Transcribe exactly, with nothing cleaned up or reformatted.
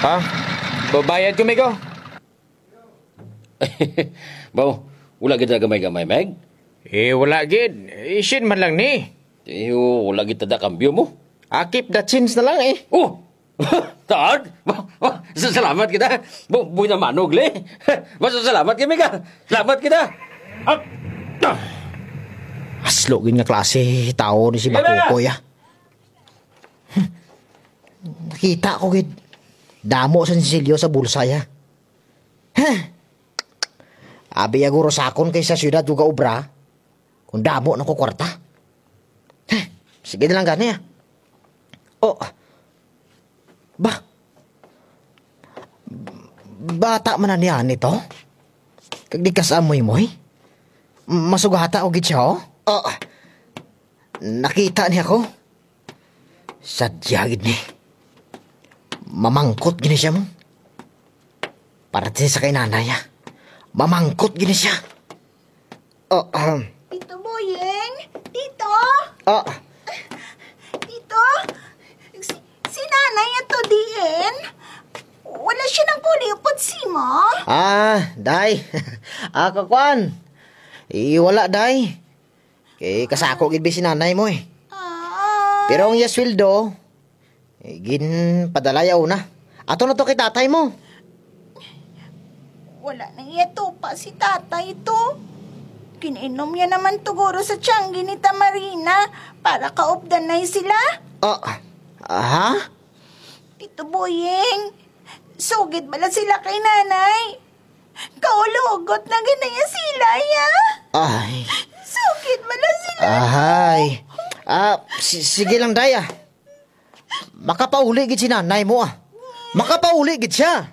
Ah, babayad ko, Migo. Baw, wala gid ta gamay-gamay, Meg? Eh, wala gid. Isin man lang ni. Eh, wala gid ta da kambyo mo. Ah, keep the change na lang eh. Oh! Taag? Ba, ba, sa-, salamat kita. Bu-, buhay na manug, li. Ba, sa-, salamat kami ka. Salamat kita. Ah! Ah! Aslo gid nga klase tawo ni si Sige na. Bakukoy, ah. Hmm. Nakita ko gid. Damo sa sinsilyo sa bulsa ya. Heh. Abi ya guro sakon kay sa syudad ko gaobra. Kon damo na ko kwarta. Heh. Sige na lang gani, ah. Oh. Ba? Bata man na ni ani to? Kag di kasamoy-moy? Masugata ko gid siya, oh. Oh. Nakita niya ko. Sadya gid ni. Mamangkot gid ni siya mo. Parte sa kay nanay, ah. Mamangkot gid ni siya. Oh, ahem. Tito Boying? Tito? Oh. Tito? Si, si Nanay ato diin? Wala siya nagpauli upod sa imo? Ah, day. Ah, kakwan. Eh, wala, day. Kay kasako gid bi si Nanay mo, eh. Ah. Pero ang iya sweldo, eh, ginpadala ya una. Ato na to kay tatay mo. Wala na iya tupa si tatay to. Gin-inom ya naman to guro sa tiyanggi ni Tamarina para kaupdan na sila. Ah, aha? Tito Boying, sugid bala sila kay Nanay? Kaulugot na gid na ya sila, ya. Ay. Sugid bala sila. Ahay. Ah, si-, sige lang, day, ah. Makapauli gid si Nanay mo, ah. Makapauli gid siya.